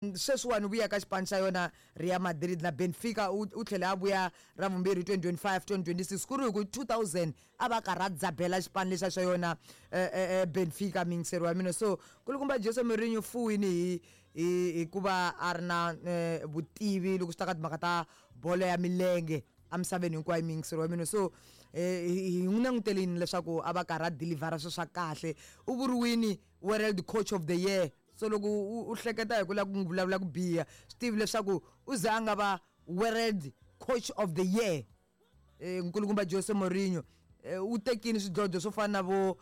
Sweswiwani u vuya ka xipano xa yona Real Madrid na Benfica, u tlhele a vuya ra vumbirhi 2025 2026, ku ri hi ku 2000 a va karhi a dzabela xipano lexa xa yona Benfica, miyingiseri wa mina. So kulukumba Jose Mourinho fuwini hikuva a ri na vutivi loko swi ta ka timhaka ta bolo ya milenge emisaveni hinkwayo, miyingiseri wa mina. So hi n'wi langutelini leswaku a va karhi a delivera swilo swa kahle. U vuriwini World Coach of the Year. So loko u hleketa hi ku lava ku n'wi vulavula ku biha, swi tivi leswaku u ze a nga va World Coach of the Year. Nkulukumba Jose Mourinho u tekini swidlodlo swo fana na vo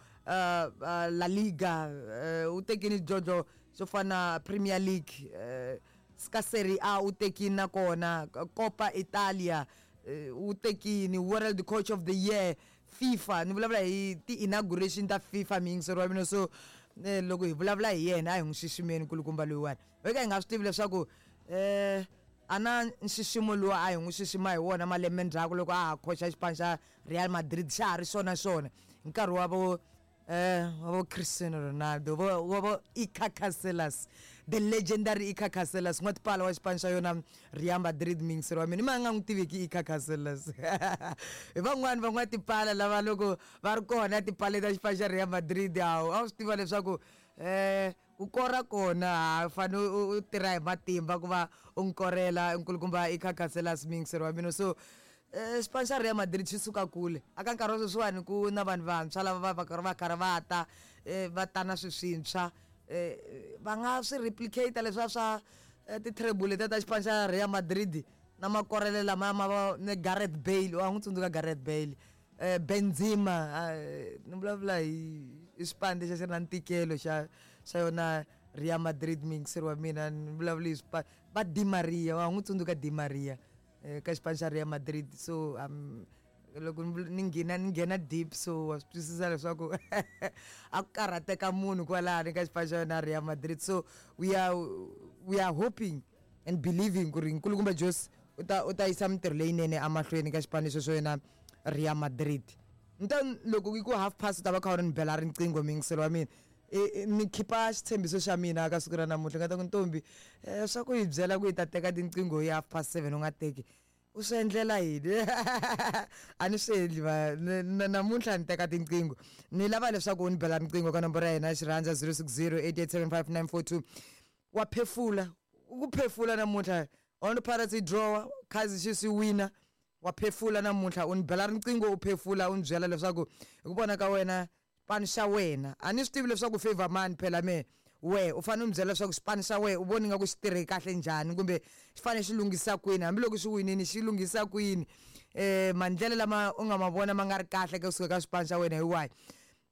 La Liga, u tekini swidlodlo swo fana na Premier League, ka Serie A u tekini, nakona Copa Italia u tekini World Coach of the Year, FIFA. Ni vulavula hi ti-inauguration ta FIFA, miyingiseri wa mina. So loko hi vulavula hi yena, a hi n'wi xiximeni nkulukumba loyiwani. Ho ka hi nga swi tivi leswaku a na nxiximo lowu a hi n'wi xixima hi wona malembe ndzhaku loko a ha khoxa xipano xa Real Madrid, xa ha ri xona xona hi nkarhi wa vo Cristiano Ronaldo, wa vo Iker Casillas, the legendary Iker Casillas, n'watipala wa xipano xa yona Real Madrid, miyingiseri wa mina. I ma nga n'wi tiveki Iker Casillas? Hi van'wani van'watipala lava loko va ri kona tipale ta xipano xa Real Madrid, hawu, a wu swi tiva leswaku ku kora kona ha fanele u tirha hi matimba ku va u n'wi korela nkulukumba Iker Casillas, miyingiseri wa mina. So xipano xa Real Madrid xi suka kule. Aka nkarhi wa sweswiwani ku na vanhu vantshwa lava va va karhi va ta va ta na swilo swintshwa, va nga swi replicate leswiya swa ti-treble letiya ta xipano xa Real Madrid na makorelo lamaya ma va ni Gareth Bale. Wa n'wi tsundzuka Gareth Bale, Benzema? Ni vulavula hi xipano lexi a xi ri na ntikelo xa yona Real Madrid, muyingiseri wa mina. Ni vulavula hi swipano va Di Maria. Wa n'wi tsundzuka Di Maria ka xipano xa Real Madrid? So loko ni nghena deep, so wa swi twisisa leswaku a ku karhateka munhu kwalani ka xipano xa yona Real Madrid. So we are hoping and believing ku ri nkulukumba Jose u ta yisa mintirho leyinene emahlweni ka xipano xo yona Real Madrid. Nta loko yi ku half past, u ta va kha u ri ni bela riqingho, muyingiseri wa mina. Ni khipa xitshembiso xa mina ka siku ra namuntlha, nga ta ku ntombi swa ku hi byela ku hi ta teka tinqingho hi 7:30, u nga teki, u swi endlela yini? A ni swi endli va namuntlha ni teka tinqingho. Ni lava leswaku u ni bela riqingho ka nomboro ya hina ya xirhandza, 060 8875 942. Wa phefula ku phefula namuntlha. Orlando Pirates yi drawa, Kaizer Chiefs yi wina, wa phefula namuntlha. U ni bela riqingho, u phefula, u ni byela leswaku hi ku vona ka wena xipano xa wena, a ni swi tivi leswaku favor mani phela me we, u fanele u ni byela leswaku xipano xa wena u voni nga ku xi tirhe kahle njhani, kumbe xi fanele xi lunghisa kwini, hambiloko xi winini xi lunghisa kwini, maendlelo lama u nga ma vona ma nga ri kahle kusuka ka xipano xa wena hi wahi.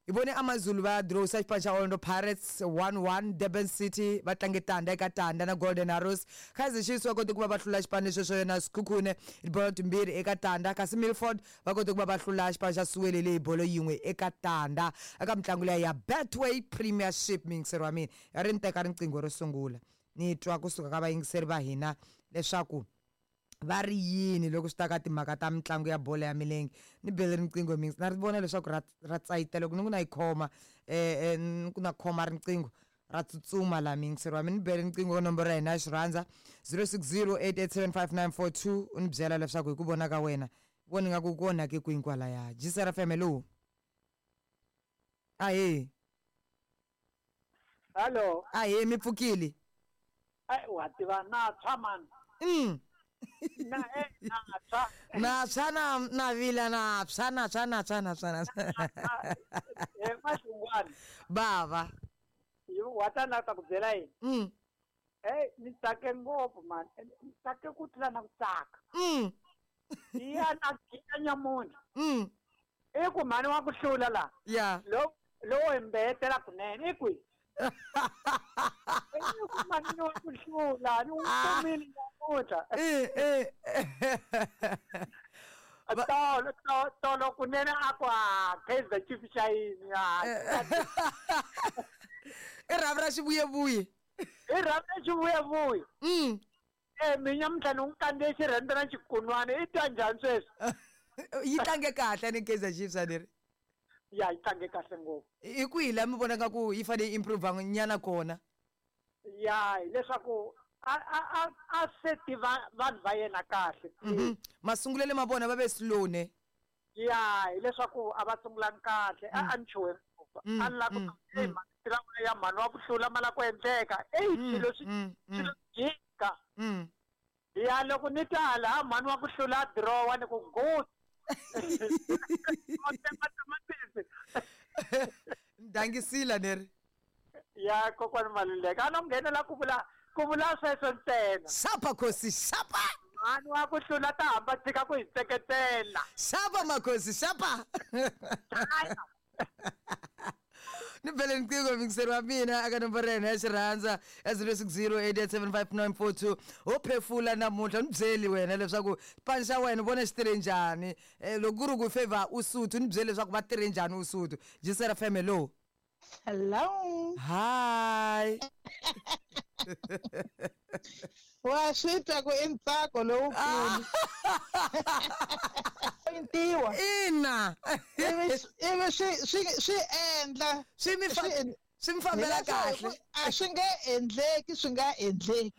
Hi vone AmaZulu va drawisa xipano xa Orlando Pirates 1-1, Durban City va tlange 0-0 na Golden Arrows, Kaizer Chiefs va kote ku va va hlula xipano lexo xo yona Sekhukhune hi bolo 2-0, kasi Milford va kote ku va va hlula xipano xa Siwelele hi bolo 1-0 eka mitlangu leya ya Betway Premiership, muyingiseri wa mina. Ya ri ni teka riqingho ro sungula, ni twa kusuka ka vayingiseri va hina leswaku va ri yini loko swi ta ka timhaka ta mitlangu ya bolo ya milenge. Ni bele riqingho mix, na ri vona leswaku ra tsayita loko ni ku na yi khoma, ni ku na khoma riqingho, ra tsutsuma laha, muyingiseri wa mina. Ni bele riqingho nomboro ya hina ya xirhandza, 060 8875942, u ni byela leswaku hi ku vona ka wena voni nga ku ku onhake kwini kwalaya. GCR FM, hello, ahee. Hello. Ahee, mi pfukile? Ai, wa tiva na tshwa man. Na na tshwa. Na tshwa, na vila, na tshwa, na tshwa, na tshwa, na tshwa, na tshwa. Maxingwani. Bava. Yo wa ta na ta ku byela yini? Ni tsake ngopfu man. Ni tsake ku tlula na ku tsaka. Ya na giya nyamuntlha. I ku mhani wa ku hlula la. Lo lowo hi mbetela kunene i kwihi? I ku mhani wa ku hlula ni n'wi kumile namuntlha. Tolo tolo kunene a ku a Kaizer Chiefs xa yini a. I rhavi ra xivuyevuye. I rhavi ra xivuyevuye. Mi nyamuntlha ni n'wi kandziye xirhendze na xikunwana, i twa njhani sweswi? Yi tlange kahle ni Kaizer Chiefs, a ni ri? Ya, yi tlange kahle ngopfu. Hi kwihi laha mi vonaka ku yi fanele yi improve nyana kona? Ya, hileswaku A se tiva vanhu va yena kahle. Masungulelo ma vona va ve slow ne. Ya, hileswaku a va sungulangi kahle, a ni chuhe ngopfu. A ni lava ku hey mani ya mhani wa ku hlula ma la ku endleka. Ey swilo swi swilo jika. Ya loko ni ta laha mhani wa ku hlula dirowa ni ku good. Tamatisi. Ndangisila neri. Ya kokwani Maluleke a no nghenela ku vula sweswo ntsena. Xapa khosi xapa. Mhani wa ku hlula ta hamba tshika ku hi tseketela. Xapa makhosi xapa. Ni bele nqingho mingiseri wa mina aka nomboro ya hina ya xirhandza ya 0608875942 ho phefula namuntlha ni byeli wena leswaku xipano xa wena u vona xi tirhe njhani. Loko ku ri ku favor Usuthu ni byeli leswaku va tirhe njhani Usuthu. Jisera FM, hello. Hello. Hi. Wa swi twa ku i ntsako lowukulu. Pointiwa. Ina. Ivi swi endla. Swi mi swi mi fambela kahle. A swi nge endleki, swi nga endleki.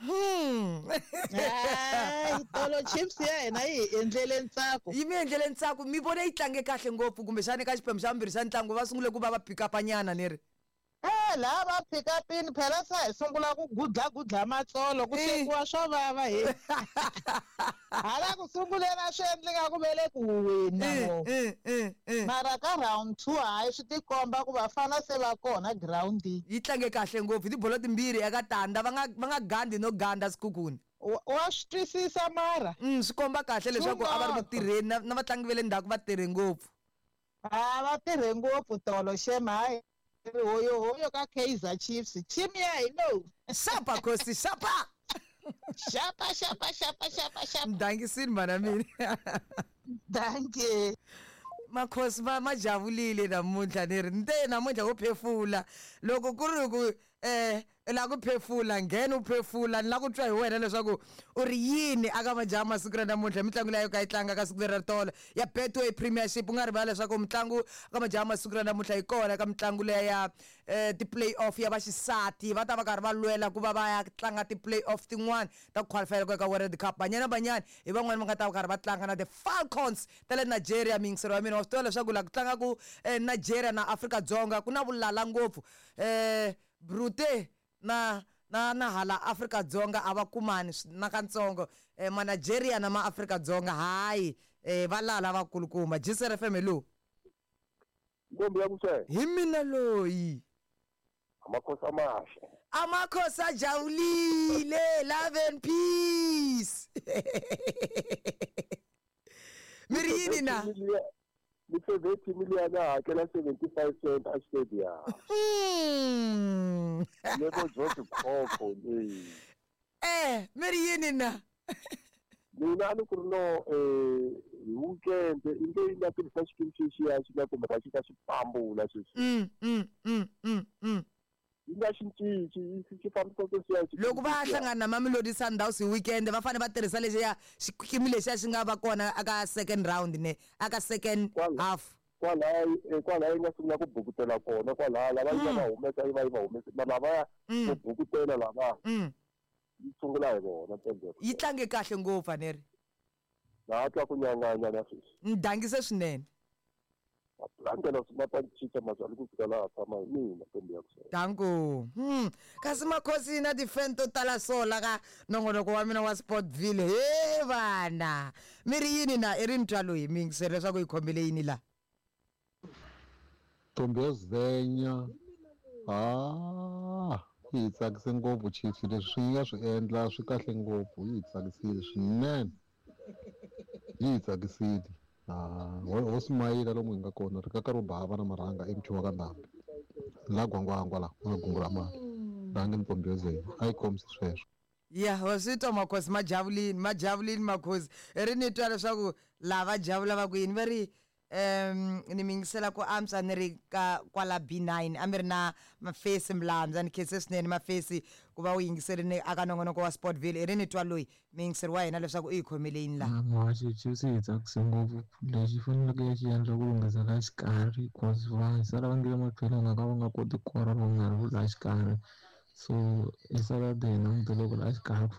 Hayi, tolo Chiefs ya hina yi hi endlele ntsako. Yi mi endlele ntsako, mi vone yi tlange kahle ngopfu kumbexana eka xiphemu xa vumbirhi xa ntlangu va sungule ku va va pick up-nyana ni ri. Laha va pick up-ini phela se hi sungula ku gudlagudla matsolo ku swekiwa swo vava hi. Hala ku sunguleni a swi endli nga ku ve le ku huweni na vona. Mara ka round 2 hayi swi tikomba ku vafana se va kona groundini. Yi tlange kahle ngopfu tibolo timbirhi eka tanda va nga gandi no ganda Sekhukhune. Wa swi twisisa mara. Swi komba kahle leswaku a va ri ku tirheni na vatlangi va le ndzhaku va tirhe ngopfu. A va tirhe ngopfu tolo xem hayi. Hoyo hoyo ka Kaizer Chiefs. Team ya hi lowu. Xapa khosi xapa. Xapa xapa xapa xapa xapa. Ndangisini mana mina. Dankie. Makhosi va ma javulile namuntlha ni ri nte namuntlha wo phefula loko ku ri ku la ku phefula nghena u phefula ni la ku twa hi wena leswaku u ri yini aka majaha masiku ra namuntlha mitlangu leyi ka yi tlanga ka siku leri tolo ya Betway Premiership u nga rivala leswaku mitlangu ka majaha masiku ra namuntlha yi kona ka mitlangu leya ya ti-play-off ya vaxisati va ta va karhi va lwela ku va va ya tlanga ti-play-off tin'wana ta ku qualifyela ku ya ka World Cup. Banyana Banyana hi van'wani va nga ta va karhi va tlanga na the Falcons ta le Nigeria. Miyingiselo wa mina wa swi tiva leswaku laha ku tlangaku Nigeria na Afrika-Dzonga ku na vulala ngopfu. Brute na na na hala Afrika-Dzonga a va kumani na katsongo. Ma Nigeria na ma Afrika-Dzonga hayi va lala vakulukumba. Jisr FM, hello. Ntombi ya kusele. Hi mina loyi. Amakhosi amahle. Amakhosi ajabulile, love and peace. Mi ri yini na? Ni favorite million ya hakela 75 cent a stadium. Lebo George Khokho leyi. Mi ri yini na? Mina ni ku ri no hi weekend i nge yi nga tirhisa xikimi xexiya xi nga kumbe xi ka xi pambula sweswi. Yi nga xi cinci xi fambisa sweswiya. Loko va hlangana na Mamelodi Sundowns hi weekend va fanele va tirhisa lexiya xikimi lexiya xi nga va kona aka second round ne aka second half. Kwalaya yi nga sungula ku bukutela kona kwalaya lava yi va humesa yi va yi va humesa lava ku bukutela lava. Yi sungula hi vona ntsena. Yi tlange kahle ngopfu aneri. Na twa ku nyanganya na sweswi. Ndangise swinene. Landela swi mazali ku fika laha tshama hi mina ntombi ya kusele. Danko. Kasi makhosi na ti-fan to tala so la ka nongonoko wa mina wa Sportville. He vana. Mi ri yini na i ri ni twa loyi mi yingiseri leswaku yi khomile yini la? Ntombi ya Zenya. Yi hi tsakise ngopfu Chiefs leswi swi nga swi endla swi kahle ngopfu yi hi tsakisile swinene. Yi hi tsakisile. Ho simayila lomu hi nga kona ri kaka ro bava na marhanga emuthiwa ka ndhambi la gwangwangwa la na gungula mali dange ntombi yo a yi kombisi sweswo. Ya wa swi twa makhosi ma javulini ma javulini makhosi ri ni twa leswaku lava javula va ku yini va ri ni mi yingisela ku antswa ni ri ka kwala B9 a mi ri na Mafesi Mlandza ni khense swinene Mafesi ku va u yingiserile aka nongonoko wa Sportville i ri ni twa loyi mi yingiseri wa hina leswaku u yi khomele yini laha. Muhaxi Chiefs yi tsakise ngopfu lexi faneleke ya xi endla ku lunghisa la xikarhi cause va sala va nge le matlhelo nga ka va nga koti ku kora va nga ri la xikarhi So i Saturday hi langutele ku ri a xikarhi ku